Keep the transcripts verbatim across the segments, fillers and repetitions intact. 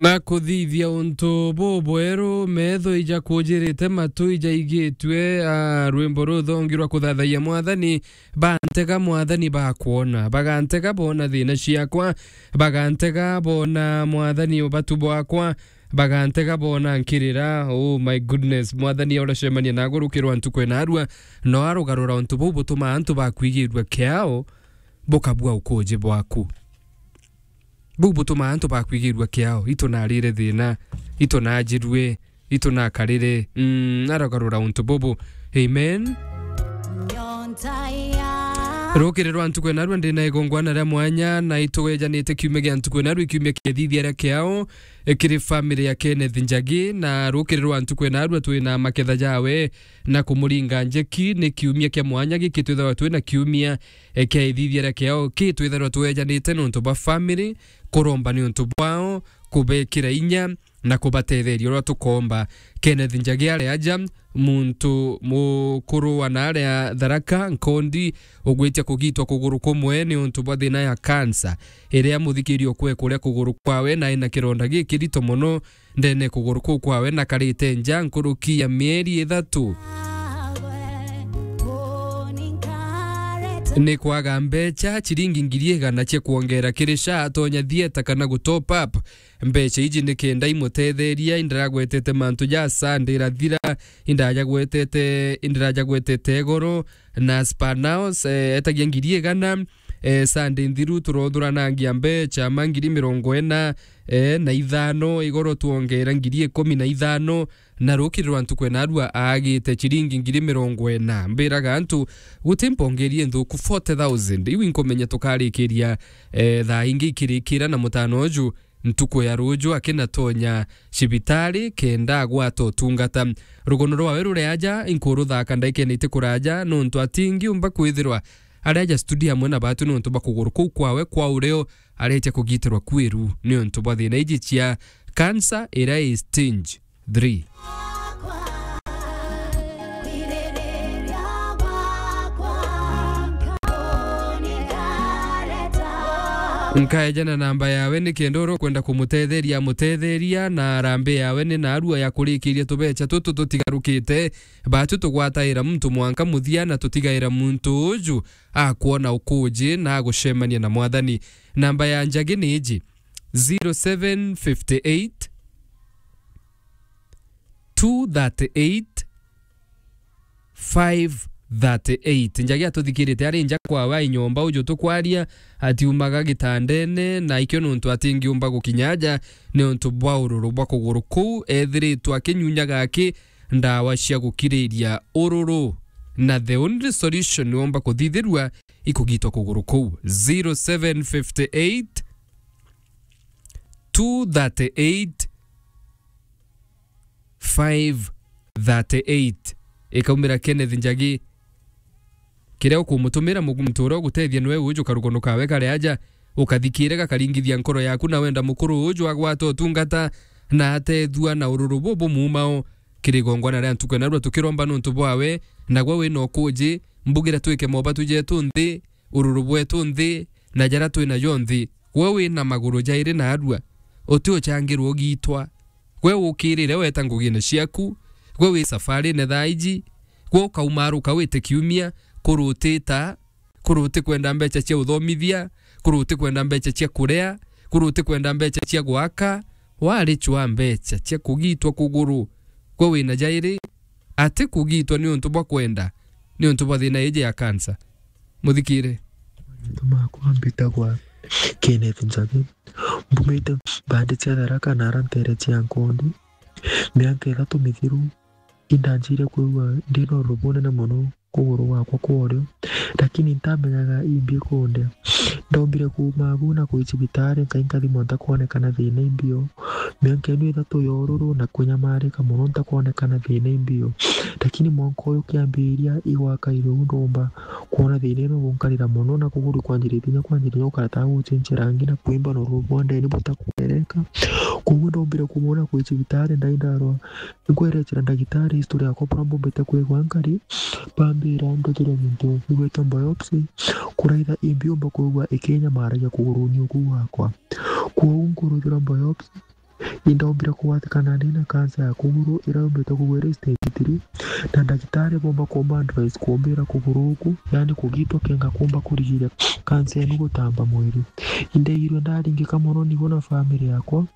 Na kuthithia untu bubweru, metho ija kujirite, matu ija igitue, a, rwimbo ruthongi rwa kuthathayia Mwathani, bantega Mwathani bakwona, bagantega bona thina ciakwa, bagantega bona Mwathani ubatu bwakwa, bagantega bona nkirira. Oh my goodness, Mwathani uracemania na agurukirwa ntuku ena arua, no arugarura untu buu butumaa antu bakwigirua kiao, bukabua ukuji bwaku. Buu butumaa antu bakwigirua kiao, itu narire thina, itu najirue, itu nakarire. Mm, arogarura untu bubu. Amen. Rukiri rwa ntuku enarua ndina igongwana ria mwanya, na itwejanite kiumia gia ntuku enarua, kiumia kia thithia ria kiao, e, kiri family ya Kenneth Njagi, na rukiri rwa ntuku enarua twina maketha jawe, na kumuringa njeki. Ni kiumia kia mwanya giki twithagwa twina kiumia e, kia ithithia ria kiao ki twitharwa twejanite niuntu bwa family, kuromba niuntu bwao, kubekira inya, na kubatetheria uria tukomba. Kenneth Njagi ari aja, muntu mukuru wa naaria Tharaka, Nkondi, ugwitia kugitwa kuguru kumwe niuntu bwa thina ya cancer, iria muthikiria ukwe kuria kuguru kwawe, na ena kironda gikirito mono, ndene kuguru kuu kwawe na karite nja nkuruki ya mieri ithatu. Ni kwaga mbecha, chiringi ngiri igana cia kwongera kiri SHA atonya thieta kana gu top up. Mbecha iji ni kenda imutetheria, indiragwetete mantu ja SHA ndirathira, indirajagwetete, indirajagwetete igoro, na Spanaos, eh, etagia ngiri igana, eh, Sunday nthiru turothuranagia mbecha ma ngiri mirongo ina, eh, na ithano, igoro twongera ngiri ikumi na ithano, na rukiri rwa ntuku enarua aagite chiringi ngiri mirongo ina. Mbiraga antu, guti mpongerie nthuku forty thousand. Iu inkumenya tukarikiria, eh, thaa ingi ikirikira na mutano uju, ntuku ya ruju akinatonya cibitari kenda agwata utungata. Rugono rwawe ruri aja, inkuruthaka ndaikene iti kuraja, nontu atingiumba kwithirwa ari aja studio amwe na batu nontu bwa kuguru kuu kwawe kwa urio aretia kugitirwa kwiru niuntu bwa thina iji cia cancer iria i stage three. Nkaeja na namba yawe ni kenda uria ukwenda kumutetheria amutetheria, na arambi yawe ni narua ya kurikiria tubecha tutu tutigarukite. Batu tugwataira muntu mwanka muthia na tutigaira muntu uju akwona ukuji na agucemania na Mwathani. Namba ya Njagi ni iji, zero seven fifty eight, two thirty eight, five thirty eight. Njagi atuthikirite ari nja kwawe ai nyomba uju tukwaria, atiumaga gitandene, na ikio nontu atingiumba gukinya aja niuntu bwa ururu bwa kuguru kuu ethiritwe akinyunyaga aki ndawa cia gukiriria ururu, na the only solution niomba kuthithirua ikugitwa kuguru kuu. Zero seven fifty eight, two thirty eight, five thirty eight. Ikaumira Kenneth Njagi. Kiria ukumutumira mu-, muntu uria ugutethia niwe uju karugono kawe kari aja, ukathikire gakaringithia nkoro yaku na wenda mukuru uju agwata utungata na atethua na ururu bubu mumao. Kiri igongwana ria ntuku enarua tukiromba nontu bwawe, nagwe wina ukuji, mbugira twike mobatu jetu nthi, ururu bwetu nthi, na jaria twinajo nthi. Gwe wina maguru jairi na arua, uti uchangirwa ugitwa. Gwe ukirire weta ngugine ciaku, gwe wi safarine thaa iji, gwe ukaumaruka wite kiumia, kuru utita, kuru utikwenda mbecha cia uthomithia, kuru utikwenda mbecha cia kuria, kuru utikwenda mbecha cia gwaka, wari chwa mbecha cia kugitwa kuguru. Gwe wina jairi, ati kugitwa niuntu bwa kwenda, niuntu bwa thina iji ya cancer. Muthikire. Mantu makwa mbitagwa Kenneth Njagi. Mbumite mbandi cia Tharaka na ara ntere cia Nkondi. Miaka ithatu mithiru, indanjire kwigua ndina ururu bunene mono kuguru gwakwa kwa urio, lakini ntamenyaga imbi kundia. Ndombire kuuma agu na kwi cibitari, nkai nkathimwa ntakwonekana thina imbio. Miaka ino ithatu ya ururu na kunyamarika mono ntakwonekana thina imbio. Lakini mwanka uyu kiambiria igwaka irio ndomba kwona thina ino gunkarira mono na kuguru kwanjiritie kinya kwanjiriria gukara ta gucenjia rangi na kwimba na ururu bwa ndeni butakwereka. Koguo ndombire kumwona kwi cibitari ndai ndarwa. Nkwerecera ndagitari history yakwa buria mbumbite kwigua nkari, bambira nduthire gintu gigwitwa biopsy, kuraitha imbi umba kwigua ikinyamaragia kuguruni uku gwakwa. Kwou nkuruthirwa biopsy, Indaombire kugwatikana ndi na kansa ya kuguru iria yumbite kugwa iri stage three, na ndagitari boomba kumba advice kumbira kuguru uku, yaani kugitwa kenga kumba kurigiria kansa inu gutamba mwiri. Indaigirwe ndaringika mono nigo na family yakwa,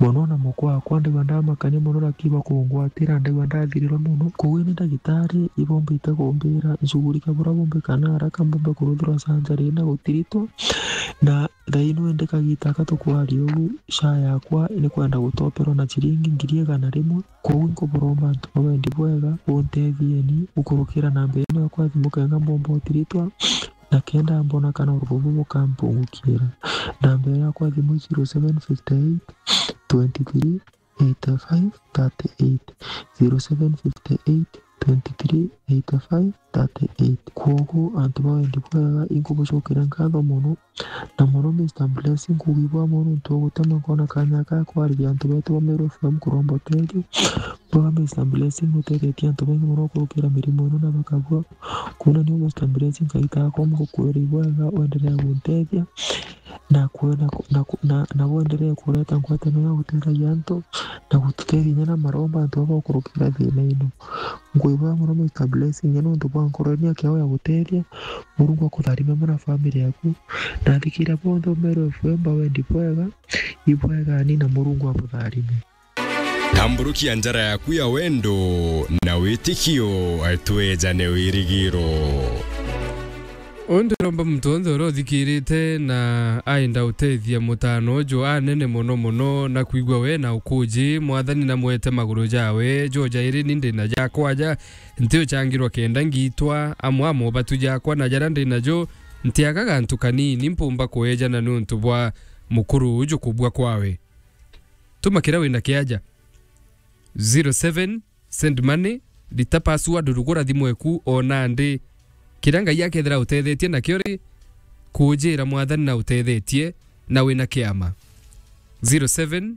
mono na mukwa wakwa, ndaigua ndamakania mono, lakini bakungwatira, ndaigua ndathirirwa mono. Koguo ni ndagitari ibombite kumbira nshughulike buria bumbikana haraka mbumbe kuruthirwa surgery na gutiritwa, na thaino indi kagita aka tukwaria uu, SHA yakwa ni kwenda gutoperwa na ciringi ngiri igana rimwe. Koguo nkuburomba antu ba wendi bwega, buntethieni gukurukira namba ino yakwa ya thimu kenga mbomba utiritwa, na kenda mbona kana urubu bukampungukira. Namba ino yakwa ya thimu zero seven fifty eight twenty three eighty five thirty eight, zero seven fifty eight twenty three eighty five thirty eight. Kwoguo antu ba wendi bwega, inkubucokera nkatho mono, na mono Mister Blessing, nkugwibwa mono nontu bwa gutema nkona kanya ga kwariria antu betu ba Meru F M kuromba utethio. Bwega Mister Blessing, nutethetie antu baingi mono gukurukira mirimo ino na bakabua. Kwou ni Mister Blessing, Ngai takomba gukwira ibwega, wendelee guntethia. Na kwe-, na ku-, na ku-, na, na bwenderee kureta ngwataniro ya gutetheria antu, na gututethia inya na maromba antu baba gukurukira thina ino. Ngwibwa mono Mister Blessing, inya nontu bwa nkoro ino yaku ya gutethia. Murungu akutharime mono na family yaku. Na athikira bonthe Meru F M ba wendi bwega, ibwegani na Murungu abutharime. Tamburukia njara yaku ya wendo na witikio, twejane wirigiro. Undi romba muntu onthe uria uthikirite na aenda utethia mutano uju anene mono mono na kwigua we na ukuji, Mwathani na mwete maguru jawe, jo jairi ni ndina jakwa ja, nti uchangirwa kenda ngitwa, amwe amo batu jakwa na jaria ndina jo, ntiaga gantu kanini mpumba kuejana niuntu bwa mukuru uju kubua kwawe. Tuma kiria wina kiaja. Zero seven, send money, rita password, rugura thimu eku o nandi. Kiria Ngai akethira utethetie nakio ri, kujira Mwathani na utethetie, na wina kiama. Zero seven,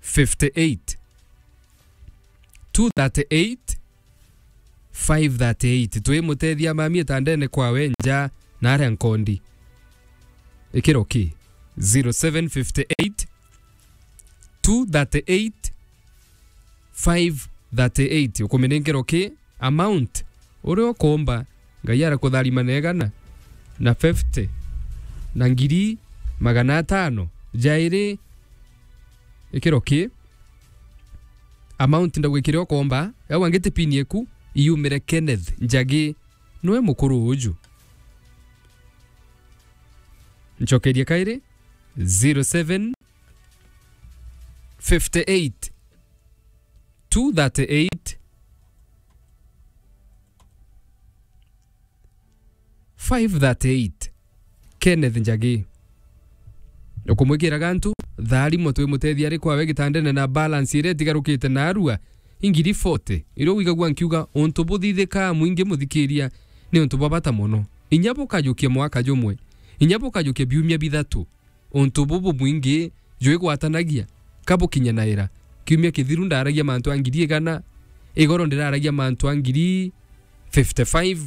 fifty eight, two thirty eight, five thirty eight. Twimutethia mami itandene kwawe nja na aria nkondi. Ikiro ki? Zero seven fifty eight, two thirty eight, five thirty eight. Ukumenya nkiro ki? Amount uria ukomba, Ngai arakutharima na igana na fifty na ngiri magana atano jairi. Ikiro ki? Amount ndauga kiria ukomba, au angite pin eku, iumire Kenneth Njagi, nwe mukuru uju. Ncokerie kairi, zero seven, fifty eight, two thirty eight, five thirty eight. Kenneth Njagi. Ukumwikira gantu, tharimo twimutethia ari kwawe gitandene na balance iria itigarukite narua, ingiri forty. Iria wigagua nkiuga, untu buthithikaa mwingi muthikiria, ni untu bwa bata mono. Inya bukajukia mwaka jumwe, inya bukajukia biumia bithatu, untu bubu bwingi jwigwatanagia, ka bukinyanaira? Kiumia kithiru ndaragia mantu a ngiri igana, igoro ndiraragia mantu a ngiri fifty five,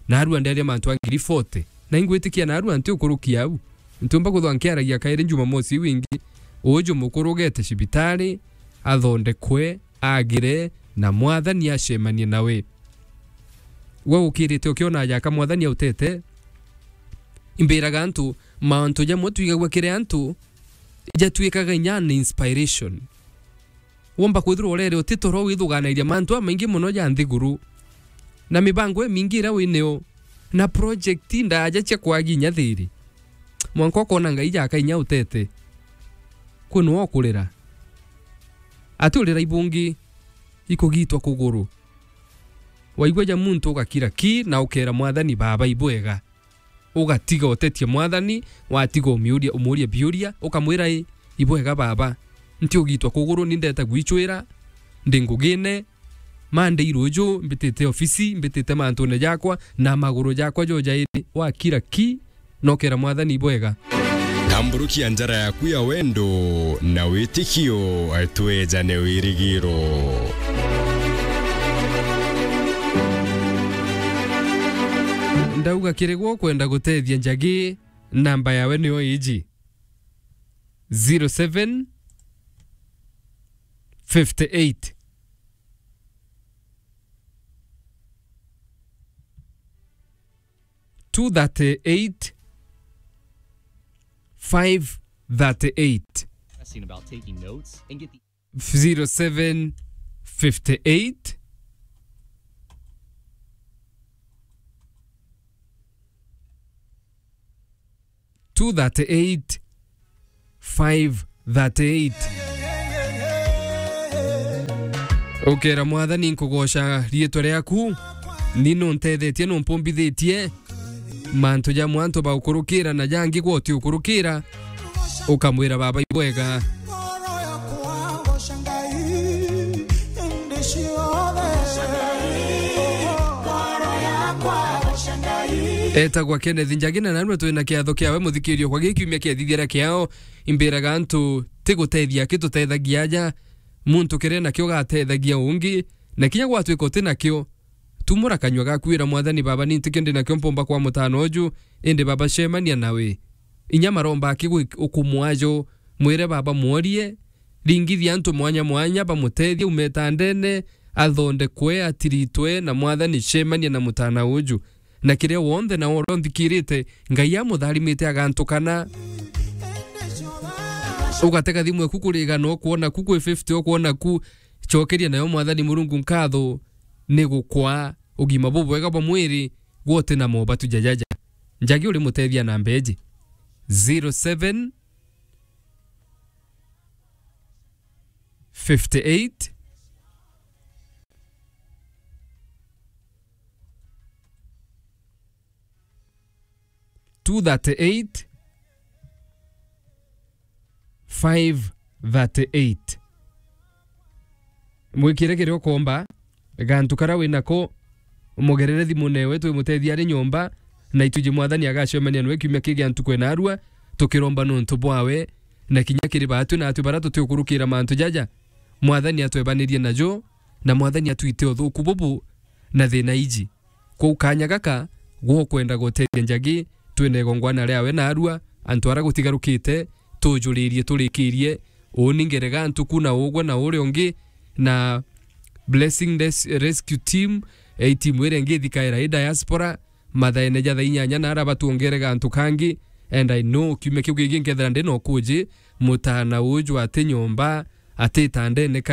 narua nderia mantu a ngiri forty. Na ingwitikia narua nti ukurukia au. Ntiumba kwithwa nkiaragia kairi Jumamosi iu ingi. Uju mukuru ugete cibitari, athondekwe, agire, na Mwathani acemanie nawe. We ukirite ukiona jaka Mwathani autete, imbiraga antu, mauntu jamwe twigagua kiri antu, jatwikaga inya an inspiration. Womba kwithirwa urere utitoro withuganairia mantu amaingi mono ja nthiguru, na mibango imingi iria winio, na project ndaja cia kwagi inya thiri. Mwanka ukona Ngai jaka inya utete. Kwi nwe ukurira. Ati urira ibungi ikugitwa kuguru. Waigua ja muntu ugakira ki na ukera Mwathani, Baba, ibwega. Ugatiga utetie Mwathani, watiga umiuria, umuuria biuria, ukamwira, "I, ibwega Baba, nti ugitwa kuguru, ni ndeta gwicwira, ndi ngugine, Monday ruju, mbitite ofisi, mbitite mantune jakwa, na maguru jakwa jo jairi." Wakira ki, nokera Mwathani ibwega. Tamburukia njara yaku ya wendo na witikio, twejane wirigiro. Ndauga kiri gwe ukwenda gutethia Njagi, namba yawe niyo iji, zero seven fifty-eight. Two thirty-eight, five thirty-eight. About taking notes and get the zero seven fifty-eight, two thirty-eight, five thirty-eight. Ukera Mwathani, nkugoca riitwa riaku, ni nuntethetie, numpumbithitie mantu ja mwantu ba ukurukira na jangi gwa uti ukurukira, ukamwira, Baba, ibwega. Etagwa Kenneth Njagi, na narua twina kiatho kiawe, muthikirio, kwa giki kiumia kiathithira kiao. Imbiraga antu ti gutethia aki tutethagia aja, muntu kiria nakio gatethagia ungi, na kinya gwatwika uti nakio, tumura kanyua gaku, ira Mwathani, Baba, ni ntikio ndi nakio mpumba kwa mutano uju, indi Baba, cemania nawe. Inya maromba aki gwi-, ukumwajo, mwire Baba, mworie, ringithia antu mwanya mwanya, bamutethie ume itandene, athondekwe, atiritwe, na Mwathani, cemania na mutana uju. Na kiria wonthe na uria unthikirite, Ngai amutharimite agantukana. Ugatega thimu eku kurigana, ukwona ku kwi fifty, ukwona ku, cokeria nayo Mwathani Murungu nkatho, ni gukwa ugima bubwega bwa mwiri, gwote na mobatu jajaja. Njagi uri mutethia na mbeji. Zero seven fifty-eight, two thirty-eight, five thirty-eight. Mwikire kiria ukomba, gantu karia wi nako, mugerere thimu newe, twimutethia ari nyomba, na ituji Mwathani agacemania nwe kiumia kii gia ntuku ena arua, tukiromba nontu bwawe, na kinya kiri baatwi na atwi baria tutiukurukira mantu jaja, Mwathani atwebanirie najo, na Mwathani atwite uthuku bubu na thina iji. Kwou kanya gaka, gwo kwenda gutethia Njagi, twina igongwana riawe naarua, antu aria gutigarukite, tujuririe turikirie, uuni ngerega ntuku na ugwe na uria ungi, na Blessing Res-, Rescue Team, eh, i timu iria ingi ithikaira i diaspora, mathaene ja thaa inyanya na aria batuongere gantu kangi, and I know kiumia kiu kingi nkethira ndi na ukuji, mutana uju ati nyomba, ati itandene ka